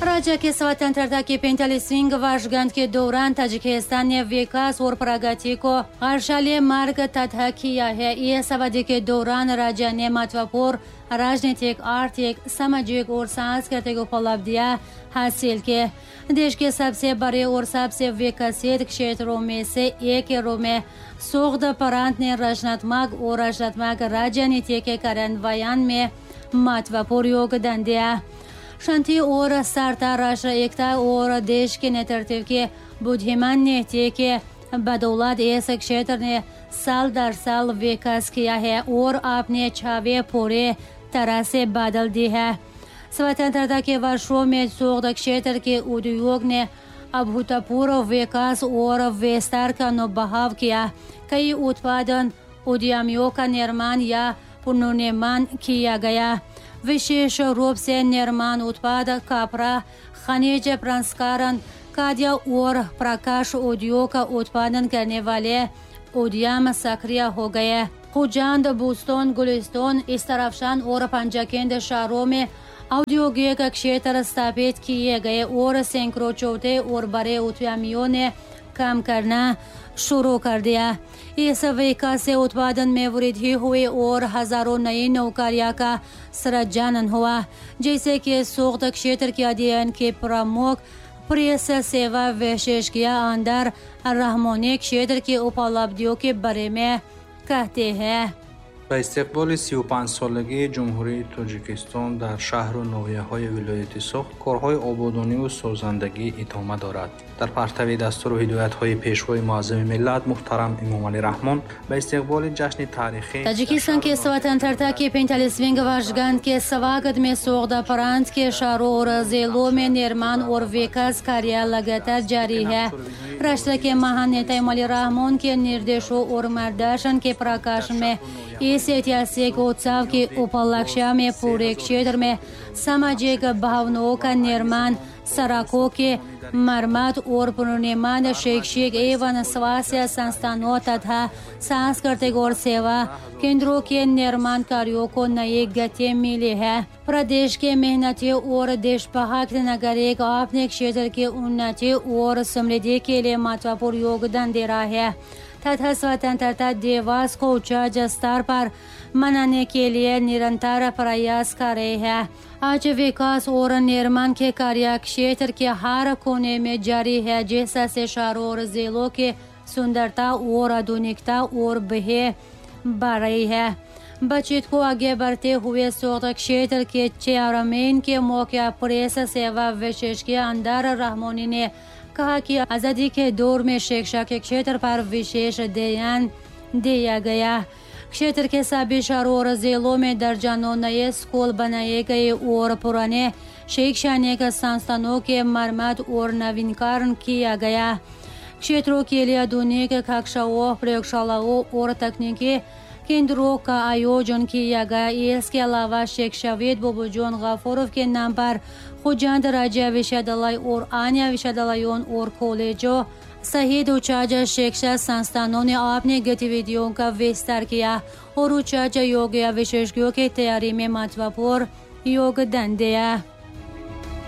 राज्य के स्वतंत्रता की 45वीं वर्षगांठ के दौरान ताजिकिस्तान ने विकास और प्रगति को हर्षाले मार्ग तथा किया है। इस अवधि के दौरान राज्य ने महत्वपूर्ण राजनीतिक, आर्थिक, सामाजिक और सांस्कृतिक उपलब्धियां हासिल की। देश के सबसे बड़े और सबसे विकसित क्षेत्रों में से एक के रूप में सोग्द प्रांत ने रचनात्मक और रचनात्मक राजनीति के कार्यान्वयन में महत्वपूर्ण योगदान दिया। शांति और सरता, राष्ट्र एकता और देश के नेतृत्व के बुद्धिमान नीति के बदौलत इस क्षेत्र ने साल दर साल विकास किया है और अपने छवि पूरे तरह से बदल दी है। स्वतंत्रता के वर्षों में सोग्द क्षेत्र के उद्योग ने अभूतपूर्व विकास और विस्तार का अनुभव किया। कई उत्पादन उद्यमियों का निर्माण या पुनर्निर्माण किया गया। विशेष रूप से निर्माण उत्पाद, कपड़ा, खनिज प्रसंस्करण, खाद्य और प्रकाश उद्योग का उत्पादन करने वाले उद्यम सक्रिय हो गए। खुजांद, बुस्तान, गुलिस्तान, इस्तरफशान और पंजाकेंद शहरों में औद्योगिक क्षेत्र स्थापित किए गए और सैकड़ों छोटे और बड़े उद्यमियों ने काम करना शुरू कर दिया। इस विकास से उत्पादन में वृद्धि हुई और हजारों नई नौकरियों का सृजन हुआ, जैसे कि सोग्द क्षेत्र के अध्ययन के प्रमुख प्रेस सेवा विशेषज्ञ अंदर रहमोनी क्षेत्र की उपलब्धियों के बारे में कहते हैं। Ба истиқболи 35-солагии Ҷумҳурии Тоҷикистон дар шаҳру ноҳияҳои вилояти Суғд корҳои ободониву созандагӣ идома дорад. Дар партави дастуру ҳидоятҳои Пешвои муаззами миллат муҳтарам Эмомалӣ Раҳмон ба истиқболи ҷашни таърихӣ Таджикистан के स्वतंत्रता के 45वीं वर्षगांठ के स्वागत में सोग्द प्रांत के शहरों और जिलों में निर्माण और विकास कार्य लगातार जारी है। राष्ट्र के महान नेता इमोमाली रहमोन के निर्देशों और मार्गदर्शन के प्रकाश में इस ऐतिहासिक उत्सव के उपलक्ष्य में पूरे क्षेत्र में सामाजिक भवनों का निर्माण, सड़कों के मरम्मत और पुनर्निर्माण, शैक्षिक एवं स्वास्थ्य संस्थानों तथा सांस्कृतिक और सेवा केंद्रों के निर्माण कार्यों को नई गति मिली है। प्रदेश के मेहनती और देशभक्त नागरिक अपने क्षेत्र की उन्नति और समृद्धि के लिए महत्वपूर्ण योगदान दे रहा है तथा स्वतंत्रता दिवस को उच्च स्तर पर मनाने के लिए निरंतर प्रयास कर रहे हैं। आज विकास और निर्माण के कार्य क्षेत्र के हर कोने में जारी है, जिससे शहरों और जिलों की सुंदरता और आधुनिकता और भी बढ़ रही है। बातचीत को आगे बढ़ते हुए सोग्द क्षेत्र के चेयरमैन के मौके प्रेस सेवा विशेषज्ञ अंदर रहमोनी ने कहा कि आज़ादी के दौर में शिक्षा के क्षेत्र पर विशेष ध्यान दिया गया। क्षेत्र के सभी शहरों और जिलों में दर्जनों नए स्कूल बनाए गए और पुराने शैक्षणिक संस्थानों के मरम्मत और नवीनीकरण किया गया। क्षेत्रों के लिए आधुनिक कक्षाओं, प्रयोगशालाओं और तकनीकी केंद्रों का आयोजन किया गया। इसके अलावा शिक्षाविद बोबोजोन गफूरोव के नाम पर खुजांद राज्य विश्वविद्यालय और अन्य विश्वविद्यालयों और कॉलेजों सहित उच्च शिक्षा संस्थानों ने अपनी गतिविधियों का विस्तार किया और उच्च योग्य विशेषज्ञों की तैयारी में महत्वपूर्ण योगदान दिया।